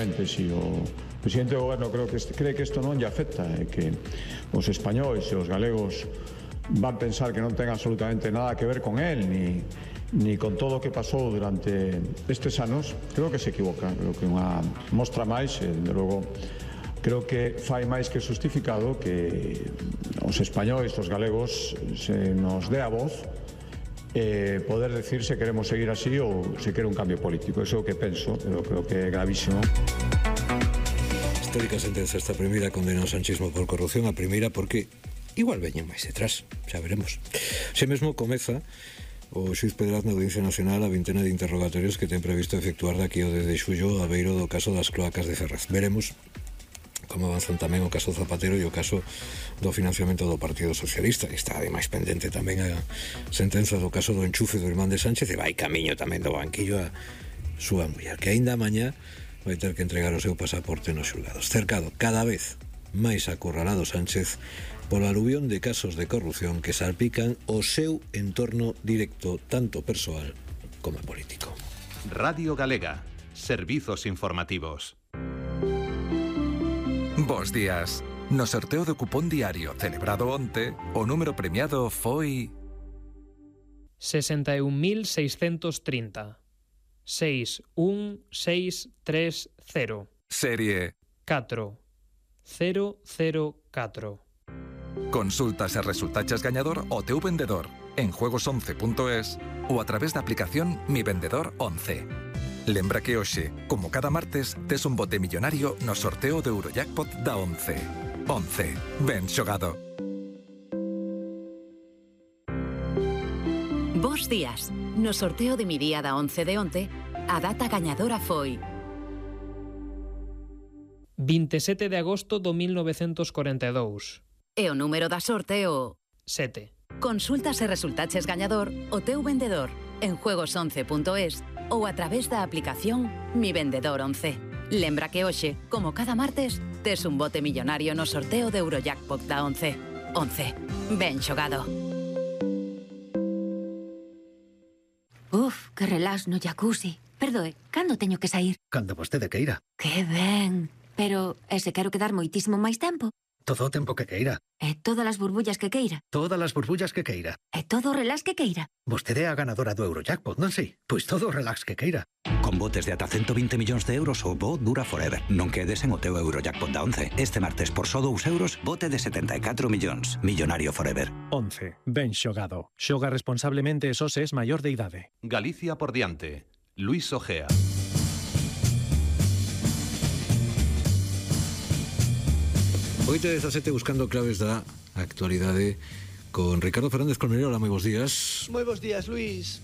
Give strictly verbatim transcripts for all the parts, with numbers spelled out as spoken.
efectivamente, si o presidente do goberno creo que este, cree que isto non lle afecta e que os españois e os galegos van pensar que non ten absolutamente nada que ver con él ni, ni con todo o que pasou durante estes anos, creo que se equivoca. Creo que unha mostra máis, e, de logo, creo que fai máis que justificado que os españois, os galegos, se nos dé a voz e poder decir se queremos seguir así ou se quere un cambio político. Eso é o que penso, eu creo que é gravísimo. Histórica sentenza esta primeira condena ao sanchismo por corrupción, a primeira porque igual veñen máis detrás, xa veremos. Se mesmo comeza o xuiz Pedraz na Audiencia Nacional a vintena de interrogatorios que ten previsto efectuar daqui ao dez de xullo a beiro do caso das cloacas de Ferraz. Veremos como avanzan tamén o caso Zapatero e o caso do financiamento do Partido Socialista. Está ademais pendente tamén a sentenza do caso do enchufe do irmán de Sánchez e vai camiño tamén do banquillo a súa muller, que aínda mañá vai ter que entregar o seu pasaporte nos xulgados. Cercado cada vez máis acurralado Sánchez pola aluvión de casos de corrupción que salpican o seu entorno directo, tanto persoal como político. Radio Galega, servizos informativos. Bos días. No sorteo do cupón diario celebrado onte, o número premiado foi sesenta e un mil seiscentos trinta. seis un seis tres cero. Serie catro cero cero catro. Consultas e resultaches gañador o teu vendedor en juegos once punto es ou a través da aplicación Mi Vendedor once. Lembra que hoxe, como cada martes, tes un bote millonario no sorteo do Eurojackpot da once. once. Ben xogado. Bos días. No sorteo de mi día da once de onte, a data gañadora foi vinte e sete de agosto do mil novecentos corenta e dous. E o número da sorte o sete. Consultas e resultaches gañador o teu vendedor en juegos once punto es ou a través da aplicación Mi Vendedor once. Lembra que hoxe, como cada martes, tes un bote millonario no sorteo de Eurojackpot da once. once. Ben xogado. Uf, que relax no jacuzzi. Perdoe, cando teño que sair? Cando vostede queira. Que ben. Pero, e se quero quedar moitísimo máis tempo? Todo o tempo que queira. E todas as burbullas que queira? Todas as burbullas que queira. E todo o relax que queira? Vostede é a ganadora do Eurojackpot, non sei? Pois todo o relax que queira. Con botes de ata ciento veinte millóns de euros o bo dura forever. Non quedes en o teu Eurojackpot da once. Este martes por só dous euros, bote de setenta e catro millóns. Millonario forever. once. Ben xogado. Xoga responsablemente e só se es maior de idade. Galicia por diante. Luis Ojea. oito e dezasete buscando claves da actualidade con Ricardo Fernández Colmenero. Hola, moi bons días. Moi bons días, Luis.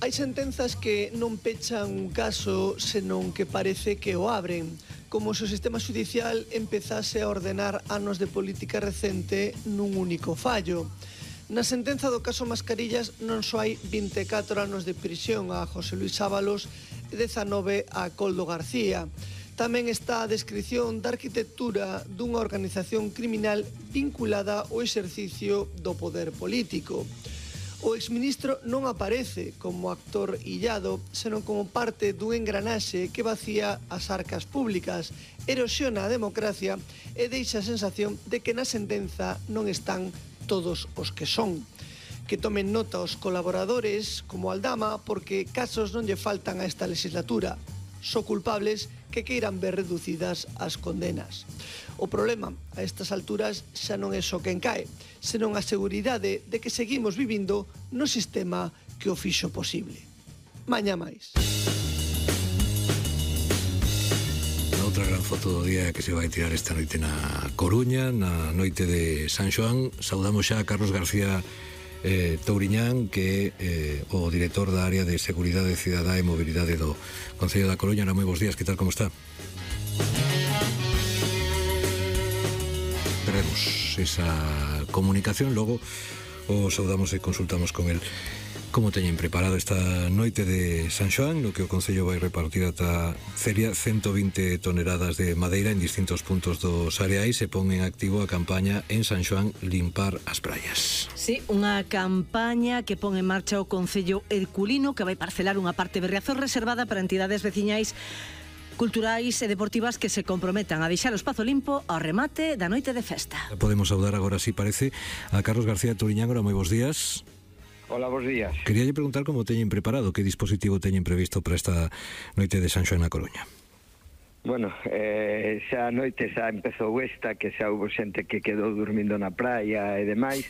Hai sentenzas que non pechan un caso, senón que parece que o abren, como se o sistema judicial empezase a ordenar anos de política recente nun único fallo. Na sentenza do caso Mascarillas non só hai vinte e catro anos de prisión a José Luis Ábalos e dezanove a Koldo García. Tamén está a descrición da arquitectura dunha organización criminal vinculada ao exercicio do poder político. O exministro non aparece como actor illado, senón como parte dun engranaxe que vacía as arcas públicas, erosiona a democracia e deixa a sensación de que na sentenza non están todos os que son. Que tomen nota os colaboradores, como Aldama, porque casos non lle faltan a esta legislatura. Só culpables que queiran ver reducidas as condenas. O problema a estas alturas xa non é só quen cae, senón a seguridade de que seguimos vivindo no sistema que o fixo posible. Mañá máis. A outra gran foto do día que se vai tirar esta noite na Coruña, na noite de San Xoán. Saudamos xa a Carlos García Eh, Touriñán, que é eh, o director da área de Seguridade Cidadá e Mobilidade do Concello da Coruña. Moi bons días, que tal, como está? Perdemos esa comunicación, logo o saudamos e consultamos con el como teñen preparado esta noite de San Xoán, no que o Concello vai repartir ata feria ciento vinte toneladas de madeira en distintos puntos dos areais e pon en activo a campaña en San Xoán Limpar as Praias. Sí, unha campaña que pon en marcha o Concello Herculino, que vai parcelar unha parte de Riazor reservada para entidades veciñais culturais e deportivas que se comprometan a deixar o espazo limpo ao remate da noite de festa. Podemos saudar agora, si parece, a Carlos García Turiñán. Ahora, moi bons días. Hola, bons días. Queríalle preguntar como teñen preparado, que dispositivo teñen previsto para esta noite de San Xoán na Coruña. Bueno, eh, xa a noite xa empezou esta, que xa houve xente que quedou dormindo na praia e demais,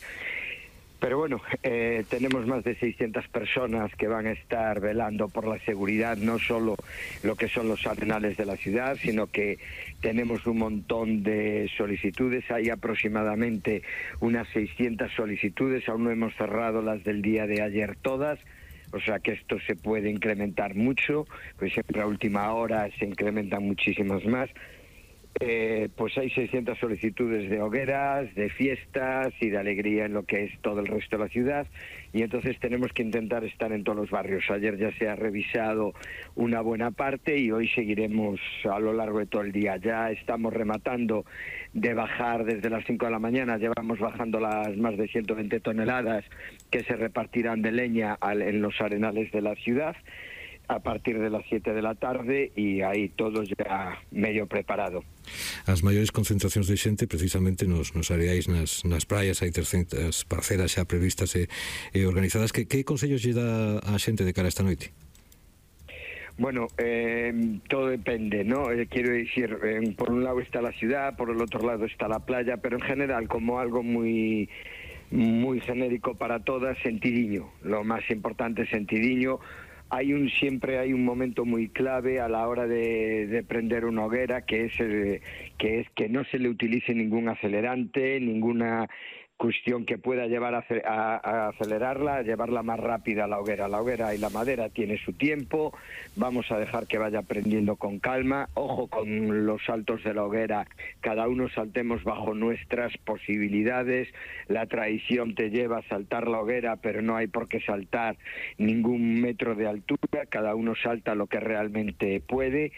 pero bueno, eh, tenemos máis de seiscientas personas que van a estar velando por la seguridad, no solo lo que son los arenales de la ciudad, sino que tenemos un montón de solicitudes, hay aproximadamente unas seiscientas solicitudes, aún no hemos cerrado las del día de ayer todas, o sea que esto se puede incrementar mucho, pues siempre a última hora se incrementan muchísimas más. Eh, pues hay seiscientas solicitudes de hogueras, de fiestas y de alegría en lo que es todo el resto de la ciudad, y entonces tenemos que intentar estar en todos los barrios. Ayer ya se ha revisado una buena parte y hoy seguiremos a lo largo de todo el día. Ya estamos rematando de bajar desde las cinco de la mañana, llevamos bajando las más de ciento veinte toneladas que se repartirán de leña en los arenales de la ciudad a partir de las siete de la tarde, e aí todo ya medio preparado. As maiores concentracións de xente precisamente nos, nos areais, nas, nas praias, hai trescentas parcelas xa previstas e, e organizadas. Que, que consellos lle dá a xente de cara a esta noite? Bueno, eh, todo depende, ¿no? Eh, quiero decir, eh, por un lado está la ciudad, por el otro lado está la playa, pero en general, como algo muy, muy genérico para todas, sentidiño. Lo más importante es sentidiño. Hay un siempre hay un momento muy clave a la hora de, de prender una hoguera, que es el, que es que no se le utilice ningún acelerante, ninguna cuestión que pueda llevar a, a, a acelerarla, a llevarla más rápida a la hoguera. La hoguera y la madera tiene su tiempo, vamos a dejar que vaya prendiendo con calma. Ojo con los saltos de la hoguera, cada uno saltemos bajo nuestras posibilidades. La tradición te lleva a saltar la hoguera, pero no hay por qué saltar ningún metro de altura, cada uno salta lo que realmente puede.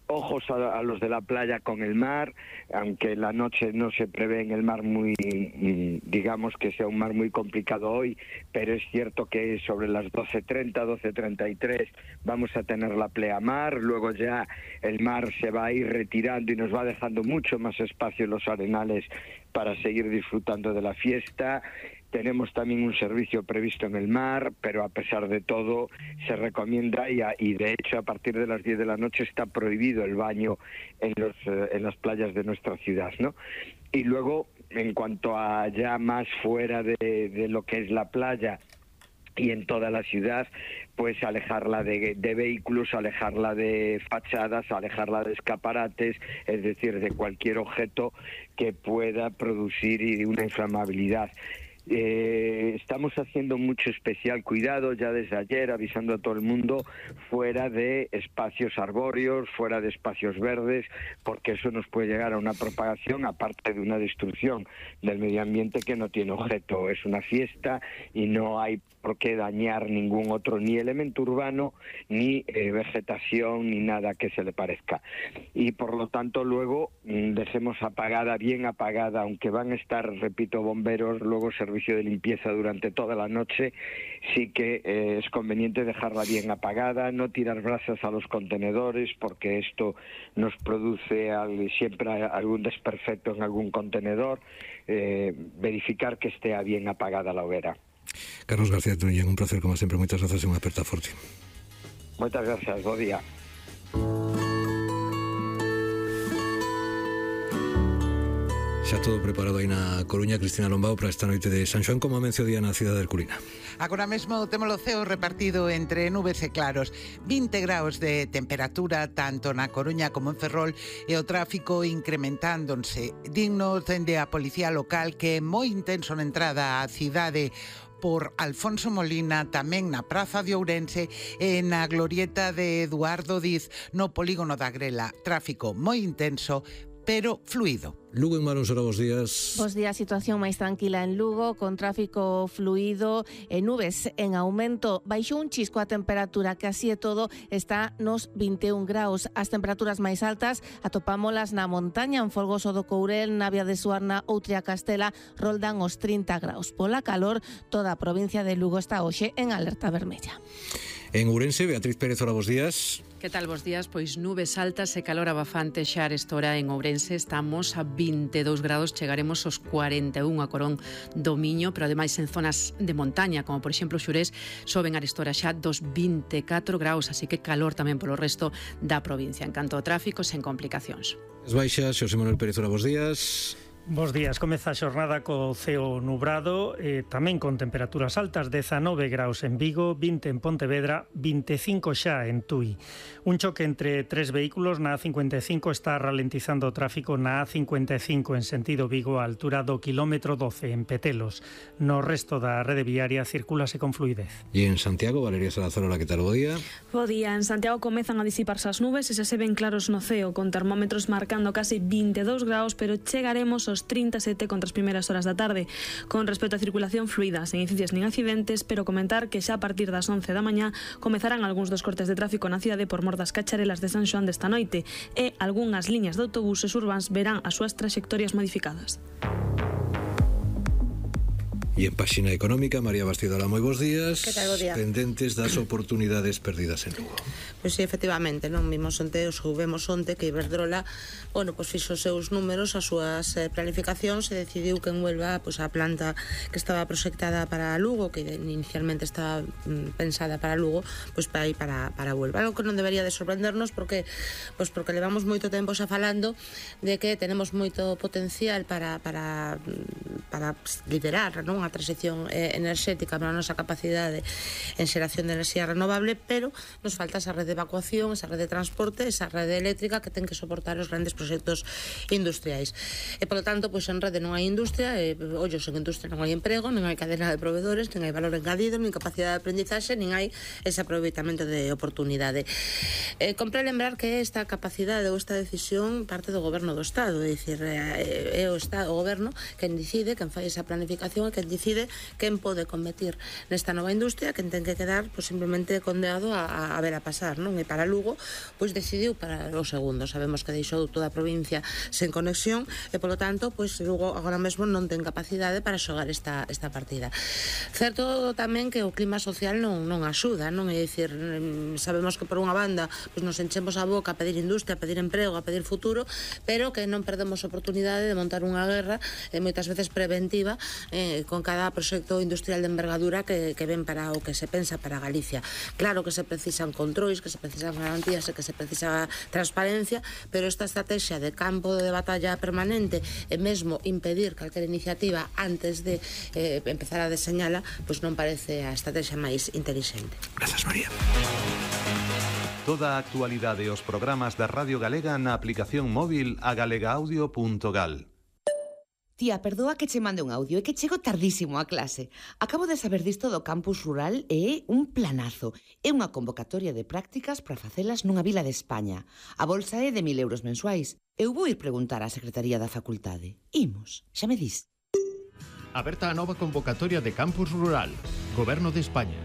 Ojos a, a los de la playa con el mar, aunque la noche no se prevé en el mar muy, digamos que sea un mar muy complicado hoy, pero es cierto que sobre las doce treinta, doce treinta y tres vamos a tener la pleamar, luego ya el mar se va a ir retirando y nos va dejando mucho más espacio en los arenales para seguir disfrutando de la fiesta. Tenemos también un servicio previsto en el mar, pero a pesar de todo se recomienda y, a, y de hecho a partir de las diez de la noche está prohibido el baño en, los, eh, en las playas de nuestra ciudad, ¿no? Y luego, en cuanto a ya más fuera de, de lo que es la playa y en toda la ciudad, pues alejarla de, de vehículos, alejarla de fachadas, alejarla de escaparates, es decir, de cualquier objeto que pueda producir una inflamabilidad. Eh, estamos haciendo mucho especial cuidado ya desde ayer, avisando a todo el mundo, fuera de espacios arbóreos, fuera de espacios verdes, porque eso nos puede llegar a una propagación, aparte de una destrucción del medio ambiente que no tiene objeto. Es una fiesta y no hay por qué dañar ningún otro, ni elemento urbano, ni eh, vegetación, ni nada que se le parezca. Y por lo tanto luego mmm, dejemos apagada, bien apagada, aunque van a estar, repito, bomberos, luego servicio de limpieza durante toda la noche, sí que eh, es conveniente dejarla bien apagada, no tirar brasas a los contenedores, porque esto nos produce al, siempre algún desperfecto en algún contenedor, eh, verificar que esté bien apagada la hoguera. Carlos García Turiñán, un placer como sempre, moitas grazas e unha aperta forte. Moitas gracias, bo día. Xa todo preparado aí na Coruña, Cristina Lombao, para esta noite de San Xoán. Como amencio día na cidade de Herculina? Agora mesmo temos o ceo repartido entre nubes e claros, vinte graus de temperatura tanto na Coruña como en Ferrol, e o tráfico incrementándose. Dignos dende a policía local, que é moi intenso na entrada á cidade por Alfonso Molina, tamén na Praza de Ourense e na glorieta de Eduardo Diz no polígono da Grela. Tráfico moi intenso, pero fluido. Lugo en Marón, Sora, bos días. Bos días, situación máis tranquila en Lugo, con tráfico fluido e nubes en aumento. Baixou un chisco a temperatura, que así e todo está nos vinte e un graus. As temperaturas máis altas atopámolas na montaña, en Folgoso do Courel, na Vía de Suarna ou Triacastela, roldan os trinta graus. Pola calor, toda a provincia de Lugo está hoxe en alerta vermella. En Ourense, Beatriz Pérez, ora, bos días. Que tal, bos días? Pois nubes altas e calor abafante xa a esta hora en Ourense. Estamos a vinte e dous grados, chegaremos aos cuarenta e un a Corón do Miño, pero ademais en zonas de montaña, como por exemplo Xurés, soben a esta hora xa dos vinte e catro graus, así que calor tamén polo resto da provincia. En canto ao tráfico, sen complicacións. As baixas, Xosé Manuel Pérez, ora, bos días. Bos días, comeza a xornada co ceo nubrado, eh, tamén con temperaturas altas, dezanove graus en Vigo, vinte en Pontevedra, vinte e cinco xa en Tui. Un choque entre tres vehículos na A cincuenta e cinco está ralentizando o tráfico na A cincuenta e cinco en sentido Vigo, a altura do kilómetro doce en Petelos. No resto da rede viaria circúlase con fluidez. E en Santiago, Valeria Salazar, hola, que tal, bo día? Bo día, en Santiago comezan a disiparse as nubes e se se ven claros no ceo, con termómetros marcando casi vinte e dous graus, pero chegaremos aos trinta e sete contra as primeiras horas da tarde. Con respecto á circulación fluida, sen incidencias nin accidentes, pero comentar que xa a partir das once da mañá comezarán algúns dos cortes de tráfico na cidade por mor das cacharelas de San Xoán desta noite e algunhas liñas de autobuses urbáns verán as súas traxectorias modificadas. E en páxina económica, María Bastido, moi bons días. Que tal, bo día? Pendentes das oportunidades perdidas en Lugo. Pois sí, efectivamente, non vimos onte, os soubemos onte que Iberdrola, bueno, pois fixo os seus números, as súas eh, planificacións e decidiu que en Huelva, pois a planta que estaba proxectada para Lugo, que inicialmente estaba mm, pensada para Lugo, pois para ir para, para Huelva. Algo que non debería de sorprendernos porque pois porque levamos moito tempo xa falando de que tenemos moito potencial para, para, para liderar, non, a transición eh, enerxética para a nosa capacidade en xeración de enerxía renovable, pero nos falta esa rede de evacuación, esa rede de transporte, esa rede eléctrica que ten que soportar os grandes proxectos industriais. E, polo tanto, pois en rede non hai industria, e, ollos, en industria non hai emprego, non hai cadena de proveedores, non hai valor engadido, nin capacidade de aprendizaxe, nin hai ese aproveitamento de oportunidade. Eh, compre lembrar que esta capacidade ou esta decisión parte do goberno do Estado, é dicir, é o Estado, o goberno quen decide, quen fai esa planificación e quen decide quen pode competir nesta nova industria, quen ten que quedar pois, simplemente condeado a, a ver a pasar, non? E para Lugo, pois decidiu para o segundo. Sabemos que deixou toda a provincia sen conexión e, polo tanto, pois Lugo agora mesmo non ten capacidade para xogar esta, esta partida. Certo tamén que o clima social non, non axuda, non? É dicir, sabemos que por unha banda pois nos enchemos a boca a pedir industria, a pedir emprego, a pedir futuro, pero que non perdemos a oportunidade de montar unha guerra eh, moitas veces preventiva eh, con cada proxecto industrial de envergadura que, que ven para o que se pensa para Galicia. Claro que se precisan controis, que se precisan garantías e que se precisa transparencia, pero esta estrategia de campo de batalla permanente e mesmo impedir calquera iniciativa antes de eh, empezar a deseñala, pois non parece a estrategia máis inteligente. Grazas, María. Toda a actualidade e os programas da Radio Galega na aplicación móvil a galegaudio punto gal. Tía, perdoa que che mande un audio, é que chego tardísimo a clase. Acabo de saber disto do campus rural e é un planazo. É unha convocatoria de prácticas para facelas nunha vila de España. A bolsa é de mil euros mensuais. Eu vou ir preguntar á Secretaría da Facultade. Imos, xa me dis. Aberta a nova convocatoria de campus rural. Goberno de España.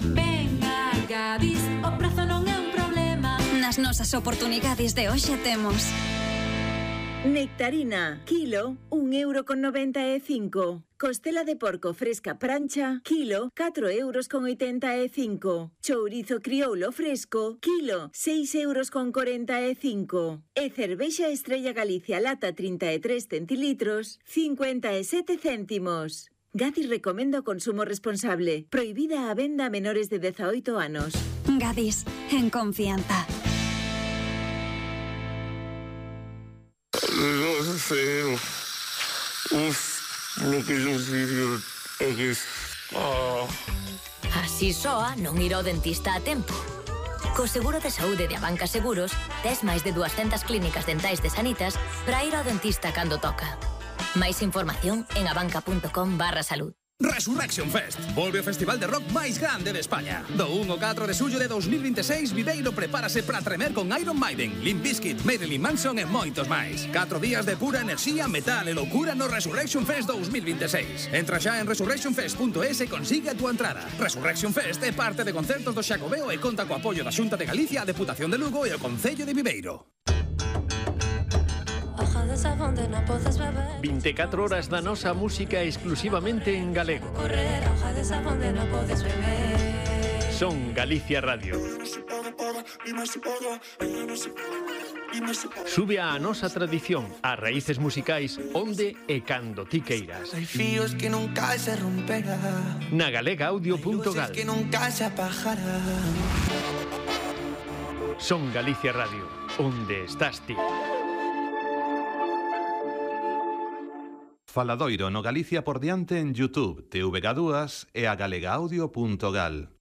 Venga, Gadis, o prazo non é un problema. Nas nosas oportunidades de hoxe temos... Nectarina, kilo, un euro con noventa e cinco. Costela de porco fresca prancha, kilo, catro euros con oitenta e cinco. Chourizo crioulo fresco, kilo, seis euros con corenta e cinco. E cervexa Estrella Galicia lata trinta e tres centilitros, cincuenta e sete céntimos. Gadis recomenda o consumo responsable. Prohibida a venda a menores de dezaoito anos. Gadis, en confianza. No sé, uf, lo que yo sigo é que... Oh. Así soa non ir ao dentista a tempo. Co seguro de saúde de Abanca Seguros, tes máis de duascentas clínicas dentais de Sanitas para ir ao dentista cando toca. Máis información en abanca.com barra salud. Resurrection Fest. Volve o festival de rock máis grande de España. Do un ao catro de xullo de dos mil vinte e seis, Viveiro prepárase para tremer con Iron Maiden, Limp Bizkit, Marilyn Manson e moitos máis. Catro días de pura enerxía, metal e loucura no Resurrection Fest dos mil vinte e seis. Entra xa en resurrection fest punto es e consigue a túa entrada. Resurrection Fest é parte de concertos do Xacobeo e conta co apoio da Xunta de Galicia, a Deputación de Lugo e o Concello de Viveiro. vinte e catro horas da nosa música exclusivamente en galego. Son Galicia Radio. Sube a nosa tradición, as raíces musicais onde e cando ti queiras. Hai fíos que nunca se romperá, na galega audio punto gal. que nunca se apagará. Son Galicia Radio, onde estás ti. Faladoiro no Galicia por diante en YouTube, T V G dúas e a galega audio punto gal.